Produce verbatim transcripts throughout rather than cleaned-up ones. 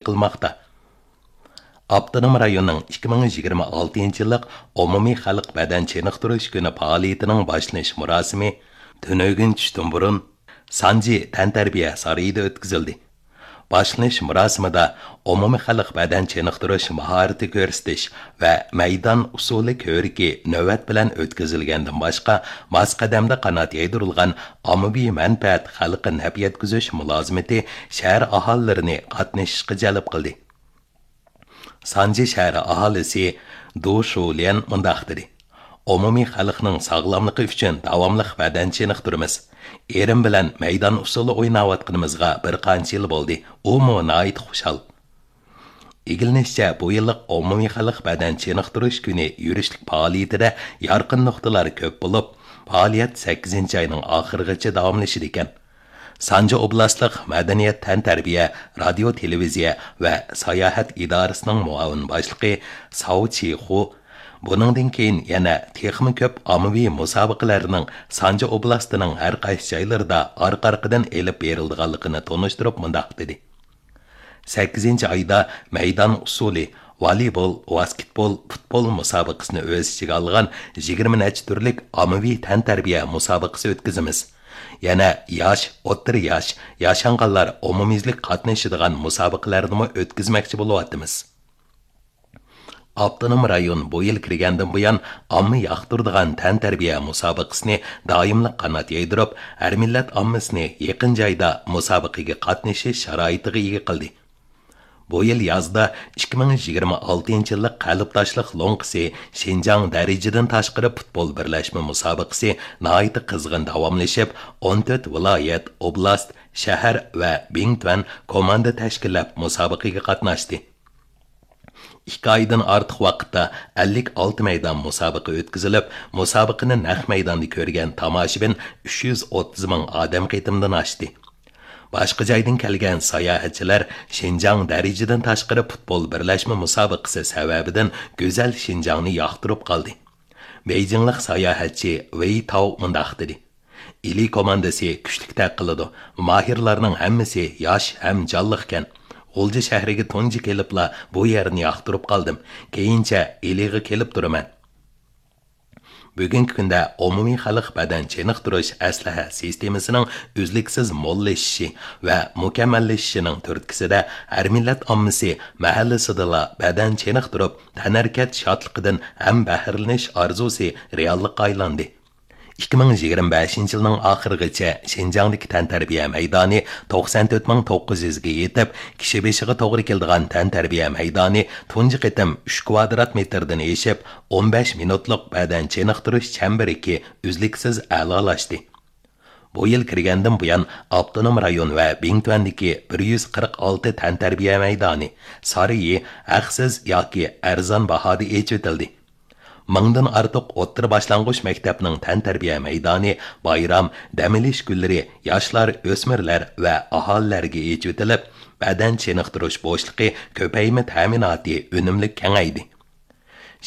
قىلماقتا. ئاپتونوم رايوننىڭ ئىككى مىڭ يىگىرمە ئالتىنچى يىللىق ئومۇمىي خەلق بەدەن چېنىقتۇرۇش كۈنى پائالىيىتىنىڭ باشلىنىش مۇراسىمى تۈنۈگۈن چۈشتىن بۇرۇن سانجى تەنتەربىيە سارىيىدا ئۆتكۈزۈلدى. باشلىنىش مۇراسىمىدا ئومۇمىي خەلق بەدەن چېنىقتۇرۇش ماھارىتى كۆرسىتىش ۋە مەيدان ئۇسسۇلى كۆرىكى نۆۋەت بىلەن ئۆتكۈزۈلگەندىن باشقا، ماس قەدەمدە قانات يايدۇرۇلغان ئاممىۋى مەنپەئەت خەلققە نەپ يەتكۈزۈش مۇلازىمىتى شەھەر ئاھالىلىرىنى قاتنىشىشقا جەلپ قىلدى. سانجى شەھىرى ئاھالىسى دۇ شۇليەن مۇنداق دېدى: ئومۇمىي خەلقنىڭ ساغلاملىقى ئۈچۈن داۋاملىق بەدەن چېنىقتۇرىمىز. ئېرىم بىلەن مەيدان ئۇسسۇلى ئويناۋاتقىنىمىزغا بىر قانچە يىل بولدى. ئۇمۇ ناھايىتى خۇشال. ئىگىلىنىشىچە، بۇ يىللىق ئومۇمىي خەلق بەدەن چېنىقتۇرۇش كۈنى يۈرۈشلۈك پائالىيىتىدە يارقىن نۇقتىلار كۆپ بولۇپ، پائالىيەت سەككىزىنچى ئاينىڭ ئاخىرىغىچە داۋاملىشىدىكەن. سانجى ئوبلاستلىق مەدەنىيەت، تەنتەربىيە، رادىيو، تېلېۋىزىيە ۋە ساياھەت ئىدارىسىنىڭ مۇئاۋىن باشلىقى ساۋ چىخۇ بۇنىڭدىن كېيىن يەنە تېخىمۇ كۆپ ئاممىۋى مۇسابىقىلەرنىڭ سانجى ئوبلاستىنىڭ ھەر قايسى جايلىرىدا ئارقا-ئارقىدىن ئېلىپ بېرىلىدىغانلىقىنى تونۇشتۇرۇپ مۇنداق دېدى: سەككىزىنچى ئايدا مەيدان ئۇسسۇلى، ۋالىبول، ۋاسكېتبول، پۇتبول مۇسابىقىسىنى ئۆز ئىچىگە ئالغان يىگىرمە نەچچە تۈرلۈك ئاممىۋى تەنتەربىيە مۇسابىقىسى ئۆتكۈزىمىز. يەنە ياش، ئوتتۇرا ياش، ياشانغانلار ئومۇميۈزلۈك قاتنىشىدىغان مۇسابىقىلەرنىمۇ ئۆتكۈزمەكچى بولۇۋاتىمىز. ئاپتونوم رايون بۇ يىل كىرگەندىن بۇيان ئامما ياقتۇرىدىغان تەنتەربىيە مۇسابىقىسىنى دائىملىق قانات يايدۇرۇپ، ھەر مىللەت ئاممىسىنى يېقىن جايدا مۇسابىقىگە قاتنىشىش شارائىتىغا ئىگە قىلدى. بۇ يىل يازدا ئىككى مىڭ يىگىرمە ئالتىنچى يىللىق قەلبداشلىق لوڭقىسى شىنجاڭ دەرىجىدىن تاشقىرى پۇتبول بىرلەشمە مۇسابىقىسى ناھايىتى قىزغىن داۋاملىشىپ، ئون تۆت ۋىلايەت، ئوبلاست، شەھەر ۋە بىڭتۈەن كوماندا تەشكىللەپ مۇسابىقىگە قاتناشتى. ئىككى ئايدىن ئارتۇق ۋاقىتتا ئەللىك ئالتە مەيدان مۇسابىقە ئۆتكۈزۈلۈپ، مۇسابىقىنى نەق مەيداندا كۆرگەن تاماشىبىن ئۈچ يۈز ئوتتۇز مىڭ ئادەم قېتىمدىن ئاشتى. باشقا جايدىن كەلگەن ساياھەتچىلەر شىنجاڭ دەرىجىدىن تاشقىرى پۇتبول بىرلەشمە مۇسابىقىسى سەۋەبىدىن گۈزەل شىنجاڭنى ياقتۇرۇپ قالدى. بېيجىڭلىق ساياھەتچى ۋېي تاۋ مۇنداق دېدى: ئىلى كوماندىسى كۈچلۈكتەك قىلىدۇ. ماھىرلارنىڭ ھەممىسى ياش ھەم جانلىقكەن. غۇلجا شەھىرىگە تۇنجى كېلىپلا بۇ يەرنى ياقتۇرۇپ قالدىم. كېيىنچە ئىلىغا كېلىپ تۇرىمەن. بۈگۈنكى كۈندە ئومۇمىي خەلق بەدەن چېنىقتۇرۇش ئەسلىھە سىستېمىسىنىڭ ئۈزلۈكسىز موللىشىشى ۋە مۇكەممەللىشىشىنىڭ تۈرتكىسىدە، ھەر مىللەت ئاممىسى مەھەللىسىدىلا بەدەن چېنىقتۇرۇپ، تەنھەرىكەت شادلىقىدىن ھەم بەھرىلىنىش ئارزۇسى رېئاللىققا ئايلاندى. ئىككى مىڭ يىگىرمە بەشىنچى يىلنىڭ ئاخىرىغىچە شىنجاڭدىكى تەنتەربىيە مەيدانى توقسان تۆت مىڭ توققۇز يۈزگە يېتىپ، كىشى بېشىغا توغرا كېلىدىغان تەنتەربىيە مەيدانى تۇنجى قېتىم ئۈچ كۋادرات مېتىردىن ئېشىپ، ئون بەش مىنۇتلۇق بەدەن چېنىقتۇرۇش چەمبىرىكى ئۈزلۈكسىز ئەلالاشتى. بۇ يىل كىرگەندىن بۇيان، ئاپتونوم رايون ۋە بىڭتۈەندىكى بىر يۈز قىرىق ئالتە تەنتەربىيە مەيدانى، سارىيى ھەقسىز ياكى ئەرزان باھادا ئېچىۋېتىلدى. مىڭدىن ئارتۇق ئوتتۇرا باشلانغۇچ مەكتەپنىڭ تەنتەربىيە مەيدانى بايرام، دەم ئېلىش كۈنلىرى ياشلار، ئۆسمۈرلەر ۋە ئاھالىلەرگە ئېچىۋېتىلىپ، بەدەن چېنىقتۇرۇش بوشلۇقى كۆپەيمە تەمىناتى ئۈنۈملۈك كېڭەيدى.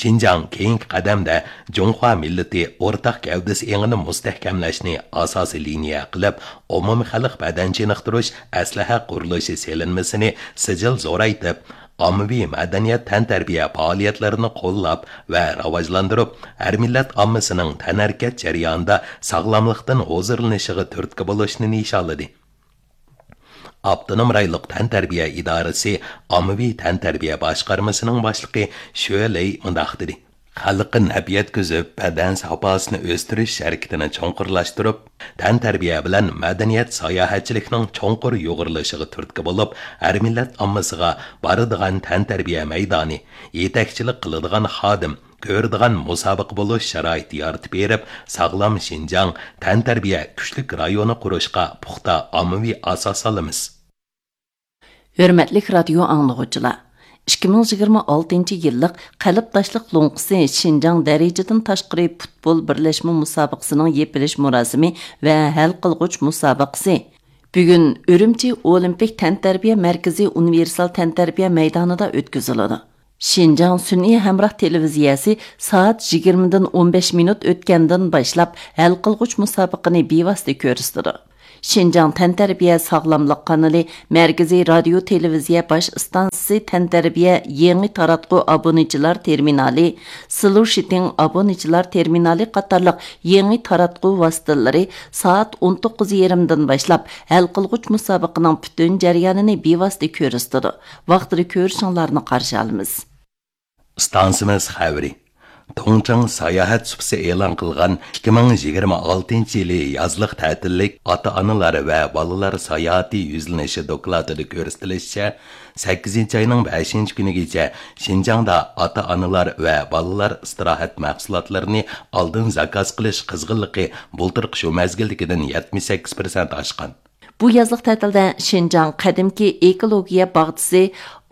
شىنجاڭ كېيىنكى قەدەمدە جۇڭخۇا مىللىتى ئورتاق گەۋدىسى ئېڭىنى مۇستەھكەملەشنى ئاساسىي لىنىيە قىلىپ، ئومۇمىي خەلق بەدەن چېنىقتۇرۇش ئەسلىھە قۇرۇلۇشى سېلىنمىسىنى سىجىل زورايتىپ، ئاممىۋى مەدەنىيەت تەنتەربىيە پائالىيەتلىرىنى قوللاپ ۋە راۋاجلاندۇرۇپ، ھەر مىللەت ئاممىسىنىڭ تەنھەرىكەت جەريانىدا ساغلاملىقتىن ھۇزۇرلىنىشىغا تۈرتكە بولۇشنى نىشانلىدى. ئاپتونوم رايونلۇق تەنتەربىيە ئىدارىسى ئاممىۋى تەنتەربىيە باشقارمىسىنىڭ باشلىقى شۆ لېي مۇنداق دېدى: خەلققە نەپ يەتكۈزۈپ، بەدەن ساپاسىنى ئۆستۈرۈش ھەرىكىتىنى چوڭقۇرلاشتۇرۇپ، تەنتەربىيە بىلەن مەدەنىيەت ساياھەتچىلىكنىڭ چوڭقۇر يۇغۇرۇلۇشىغا تۈرتكە بولۇپ، ھەر مىللەت ئاممىسىغا بارىدىغان تەنتەربىيە مەيدانى، يېتەكچىلىك قىلىدىغان خادىم، كۆرىدىغان مۇسابىقە بولۇش شارائىتى يارىتىپ بېرىپ، ساغلام شىنجاڭ، تەنتەربىيە كۈچلۈك رايونى قۇرۇشقا پۇختا ئاممىۋى ئاساس سالىمىز. ھۆرمەتلىك رادىيو ئاڭلىغۇچىلار، ئىككى مىڭ يىگىرمە ئالتىنچى يىللىق قەلبداشلىق لوڭقىسى شىنجاڭ دەرىجىدىن تاشقىرى پۇتبول بىرلەشمە مۇسابىقىسىنىڭ يېپىلىش مۇراسىمى ۋە ھەل قىلغۇچ مۇسابىقىسى بۈگۈن ئۈرۈمچى ئولىمپىك تەنتەربىيە مەركىزى ئۇنىۋېرسال تەنتەربىيە مەيدانىدا ئۆتكۈزۈلىدۇ. شىنجاڭ سۈنئىي ھەمراھ تېلېۋىزىيەسى سائەت يىگىرمىدىن ئون بەش مىنۇت ئۆتكەندىن باشلاپ ھەل قىلغۇچ مۇسابىقىنى بىۋاسىتە كۆرسىتىدۇ. شىنجاڭ تەنتەربىيە ساغلاملىق قانىلى مەركىزىي رادىيو تېلېۋىزىيە باش ئىستانسىسى تەنتەربىيە يېڭى تاراتقۇ ئابۇنىچىلار تېرمىنالى، سلۇشىتىڭ ئابۇنىچىلار تېرمىنالى قاتارلىق يېڭى تاراتقۇ ۋاسىتىلىرى سائەت ئون توققۇز يېرىمدىن باشلاپ ھەل قىلغۇچ مۇسابىقىنىڭ پۈتۈن جەريانىنى بىۋاسىتە كۆرسىتىدۇ. ۋاقتىدا كۆرۈشۈڭلارنى قارشى ئالىمىز. ئىستانسىمىز خەۋىرى. تۇڭچىڭ ساياھەت سۇپىسى ئېلان قىلغان ئىككى مىڭ يىگىرمە ئالتىنچى يىلى يازلىق تەتىللىك ئاتا-ئانىلار ۋە بالىلار ساياھىتى يۈزلىنىشى دوكلاتىدا كۆرسىتىلىشىچە، سەككىزىنچى ئاينىڭ بەشىنچى كۈنىگىچە شىنجاڭدا ئاتا-ئانىلار ۋە بالىلار ئىستىراھەت مەھسۇلاتلىرىنى ئالدىن زاكاز قىلىش قىزغىنلىقى بۇلتۇرقى شۇ مەزگىلدىكىدىن يەتمىش سەككىز پىرسەنت ئاشقان. بۇ يازلىق تەتىلدە شىنجاڭ قەدىمكى ئېكولوگىيە باغچىسى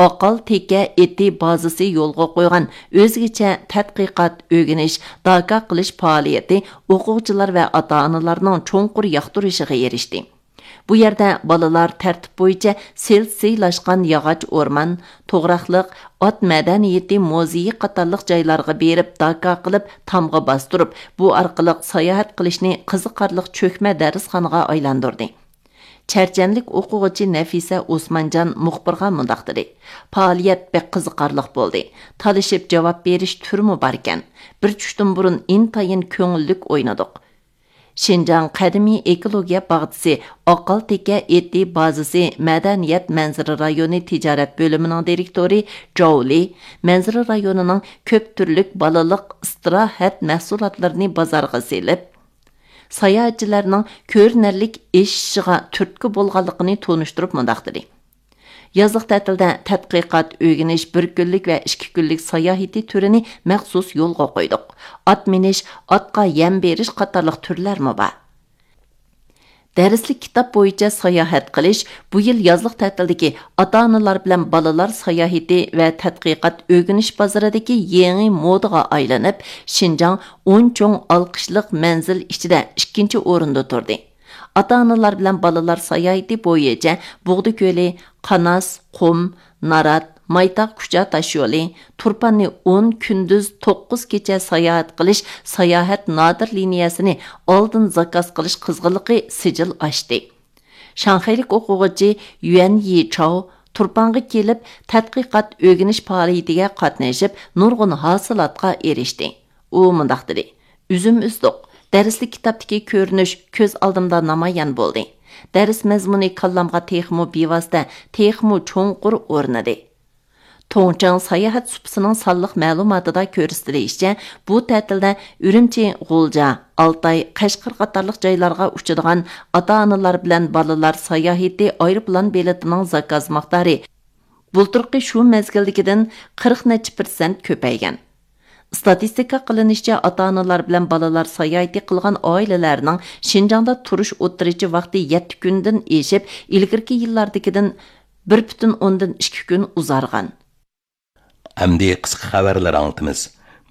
ئاقال تېكە ئېتى بازىسى يولغا قويغان ئۆزگىچە تەتقىقات، ئۆگىنىش، داكا قىلىش پائالىيىتى ئوقۇغۇچىلار ۋە ئاتا-ئانىلارنىڭ چوڭقۇر ياقتۇرۇشىغا ئېرىشتى. بۇ يەردە بالىلار تەرتىپ بويىچە سىلسىلاشقان ياغاچ ئورمان، توغراقلىق، ئات مەدەنىيىتى مۇزېيى قاتارلىق جايلارغا بېرىپ داكا قىلىپ، تامغا باستۇرۇپ، بۇ ئارقىلىق ساياھەت قىلىشنى قىزىقارلىق چۆكمە دەرسخانىغا ئايلاندۇردى. چەرچەنلىك ئوقۇغۇچى نەفىسە ئوسمانجان مۇخبىرغا مۇنداق دېدى: پائالىيەت بەك قىزىقارلىق بولدى. تالىشىپ جاۋاب بېرىش تۈرىمۇ باركەن. بىر چۈشتىن بۇرۇن ئىنتايىن كۆڭۈللۈك ئوينىدۇق. شىنجاڭ قەدىمىي ئېكولوگىيە باغچىسى ئاقال تېكە ئېتى بازىسى مەدەنىيەت مەنزىرە رايونى تىجارەت بۆلۈمىنىڭ دىرېكتورى جاۋ لى مەنزىرە رايونىنىڭ كۆپ تۈرلۈك بالىلىق ئىستىراھەت مەھسۇلاتلىرىنى بازارغا سېلىپ، ساياھەتچىلەرنىڭ كۆرۈنەرلىك ئېشىشىغا تۈرتكە بولغانلىقىنى تونۇشتۇرۇپ مۇنداق دېدى: يازلىق تەتىلدە تەتقىقات، ئۆگىنىش، بىر كۈنلۈك ۋە ئىككى كۈنلۈك ساياھىتى تۈرىنى مەخسۇس يولغا قويدۇق. ئات مىنىش، ئاتقا يەم بېرىش قاتارلىق تۈرلەرمۇ بار. دەرسلىك كىتاب بويىچە ساياھەت قىلىش بۇ يىل يازلىق تەتىلدىكى ئاتا-ئانىلار بىلەن بالىلار ساياھىتى ۋە تەتقىقات ئۆگىنىش بازىرىدىكى يېڭى مودىغا ئايلىنىپ، شىنجاڭ ئون چوڭ ئالقىشلىق مەنزىل ئىچىدە ئىككىنچى ئورۇندا تۇردى. ئاتا-ئانىلار بىلەن بالىلار ساياھىتى بويىچە بۇغدا كۆلى، قاناس، قۇم، نارات، مايتاغ كۇچا تاشيولى، تۇرپاننى ئون كۈندۈز توققۇز كېچە ساياھەت قىلىش ساياھەت نادىر لىنىيەسىنى ئالدىن زاكاز قىلىش قىزغىنلىقى سىجىل ئاشتى. شاڭخەيلىك ئوقۇغۇچى يۈەن يىچاۋ تۇرپانغا كېلىپ، تەتقىقات ئۆگىنىش پائالىيىتىگە قاتنىشىپ، نۇرغۇن ھاسىلاتقا ئېرىشتى. ئۇ مۇنداق دېدى: ئۈزۈم ئۈزدۇق. دەرسلىك كىتابتىكى كۆرۈنۈش كۆز ئالدىمدا نامايان بولدى. دەرس مەزمۇنى كاللامغا تېخىمۇ بىۋاسىتە، تېخىمۇ چوڭقۇر ئورنىدى. توڭچاڭ ساياھەت سۇپىسىنىڭ سانلىق مەلۇماتىدا كۆرسىتىلىشىچە، بۇ تەتىلدە ئۈرۈمچى، غۇلجا، ئالتاي، قەشقەر قاتارلىق جايلارغا ئۇچىدىغان ئاتا-ئانىلار بىلەن بالىلار ساياھىتى ئايروپىلان بېلىتىنىڭ زاكاز مىقدارى بۇلتۇرقى شۇ مەزگىلدىكىدىن قىرىق نەچچە پىرسەنت كۆپەيگەن. ئىستاتىستىكا قىلىنىشىچە، ئاتا-ئانىلار بىلەن بالىلار ساياھىتى قىلغان ئائىلىلەرنىڭ شىنجاڭدا تۇرۇش ئوتتۇرىچە ۋاقتى يەتتە كۈندىن ئېشىپ، ئىلگىرىكى يىللاردىكىدىن بىر پۈتۈن ئوندىن ئىككى كۈن ئۇزارغان. ئەمدى قىسقا خەۋەرلەر ئاڭلىتىمىز.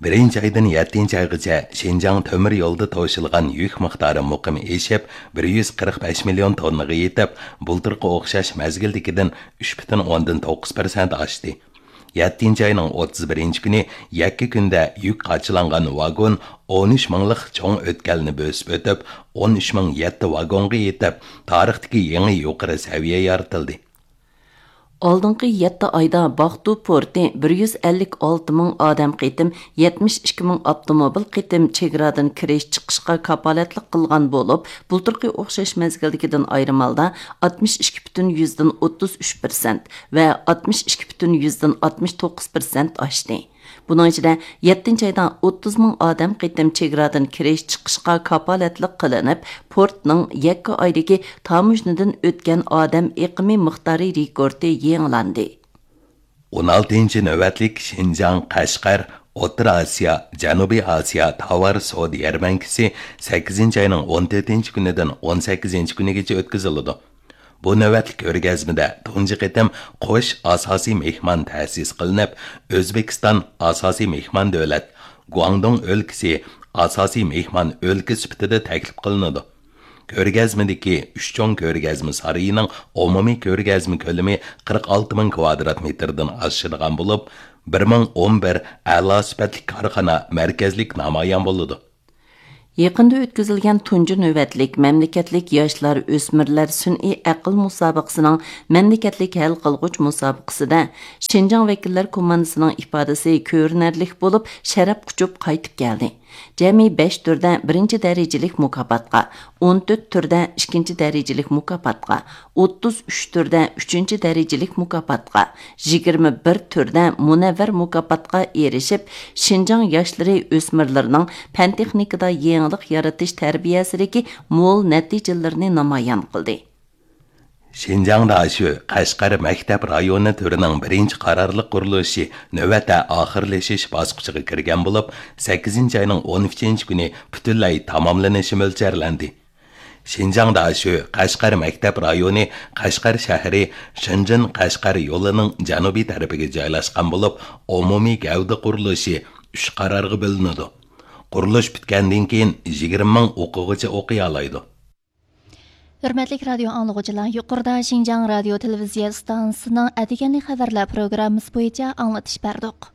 بىرىنچى ئايدىن يەتتىنچى ئايغىچە شىنجاڭ تۆمۈر يولىدا توشۇلغان يۈك مىقدارى مۇقىم ئېشىپ، بىر يۈز قىرىق بەش مىليون توننىغا يېتىپ، بۇلتۇرقى ئوخشاش مەزگىلدىكىدىن ئۈچ پۈتۈن ئوندىن توققۇز پىرسەنت ئاشتى. يەتتىنچى ئاينىڭ ئوتتۇز بىرىنچى كۈنى يەككە كۈندە يۈك قاچىلانغان ۋاگون ئون ئۈچ مىڭلىق چوڭ ئۆتكەلنى بۆسۈپ ئۆتۈپ، ئون ئۈچ مىڭ يەتتە ۋاگونغا يېتىپ، تارىختىكى يېڭى يۇقىرى سەۋىيە يارىتىلدى. ئالدىنقى يەتتە ئايدا باقتۇ پورتى بىر يۈز ئەللىك ئالتە مىڭ ئادەم قېتىم، يەتمىش ئىككى مىڭ ئاپتوموبىل قېتىم چېگرادىن كىرىش چىقىشقا كاپالەتلىك قىلغان بولۇپ، بۇلتۇرقى ئوخشاش مەزگىلدىكىدىن ئايرىم ھالدا ئاتمىش ئىككى پۈتۈن يۈزدىن ئوتتۇز ئۈچ پىرسەنت ۋە ئاتمىش ئىككى پۈتۈن يۈزدىن ئاتمىش توققۇز پىرسەنت ئاشتى. بۇنىڭ ئىچىدە يەتتىنچى ئايدا ئوتتۇز مىڭ ئادەم قېتىم چېگرادىن كىرىش چىقىشقا كاپالەتلىك قىلىنىپ، پورتنىڭ يەككە ئايدىكى تاموژنىدىن ئۆتكەن ئادەم ئېقىمى مىقدارى رېكورتى يېڭىلاندى. ئون ئالتىنچى نۆۋەتلىك شىنجاڭ، قەشقەر، ئوتتۇرا ئاسىيا، جەنۇبىي ئاسىيا تاۋار سودا يەرمەنكىسى سەككىزىنچى ئاينىڭ ئون تۆتىنچى كۈنىدىن ئون سەككىزىنچى كۈنىگىچە ئۆتكۈزۈلىدۇ. بۇ نۆۋەتلىك كۆرگەزمىدە تۇنجى قېتىم قوش ئاساسىي مېھمان تەسىس قىلىنىپ، ئۆزبېكىستان ئاساسىي مېھمان دۆلەت، گۇاڭدۇڭ ئۆلكىسى ئاساسىي مېھمان ئۆلكە سۈپىتىدە تەكلىپ قىلىنىدۇ. كۆرگەزمىدىكى ئۈچ چوڭ كۆرگەزمە سارىيىنىڭ ئومۇمىي كۆرگەزمە كۆلىمى قىرىق ئالتە مىڭ كۋادرات مېتىردىن ئاشىدىغان بولۇپ، بىر مىڭ ئون بىر ئەلا سۈپەتلىك كارخانا مەركەزلىك نامايان بولىدۇ. يېقىندا ئۆتكۈزۈلگەن تۇنجى نۆۋەتلىك مەملىكەتلىك ياشلار، ئۆسمۈرلەر سۈنئىي ئەقىل مۇسابىقىسىنىڭ مەملىكەتلىك ھەل قىلغۇچ مۇسابىقىسىدە شىنجاڭ ۋەكىللەر كوماندىسىنىڭ ئىپادىسى كۆرۈنەرلىك بولۇپ، شەرەپ قۇچۇپ قايتىپ كەلدى. جەمئىي بەش تۈردە بىرىنچى دەرىجىلىك مۇكاپاتقا، ئون تۆت تۈردە ئىككىنچى دەرىجىلىك مۇكاپاتقا، ئوتتۇز ئۈچ تۈردە ئۈچىنچى دەرىجىلىك مۇكاپاتقا، يىگىرمە بىر تۈردە مۇنەۋۋەر مۇكاپاتقا ئېرىشىپ، شىنجاڭ ياشلىرى، ئۆسمۈرلىرىنىڭ پەن تېخنىكىدا يېڭىلىق يارىتىش تەربىيەسىدىكى مول نەتىجىلىرىنى نامايان قىلدى. شىنجاڭ داشۆ قەشقەر مەكتەپ رايونى تۈرىنىڭ بىرىنچى قارارلىق قۇرۇلۇشى نۆۋەتتە ئاخىرلىشىش باسقۇچىغا كىرگەن بولۇپ، سەككىزىنچى ئاينىڭ ئون ئۈچىنچى كۈنى پۈتۈنلەي تاماملىنىشى مۆلچەرلەندى. شىنجاڭ داشۆ قەشقەر مەكتەپ رايونى قەشقەر شەھىرى شېنجېن قەشقەر يولىنىڭ جەنۇبىي تەرىپىگە جايلاشقان بولۇپ، ئومۇمىي گەۋدە قۇرۇلۇشى ئۈچ قارارغا بۆلۈنىدۇ. قۇرۇلۇش پۈتكەندىن كېيىن يىگىرمە مىڭ ئوقۇغۇچى ئوقۇيالايدۇ. ھۆرمەتلىك رادىيو ئاڭلىغۇچىلار، يۇقىرىدا شىنجاڭ رادىيو تېلېۋىزىيە ئىستانسىسىنىڭ ئەتىگەنلىك خەۋەرلەر پروگراممىسى بويىچە ئاڭلىتىش بەردۇق.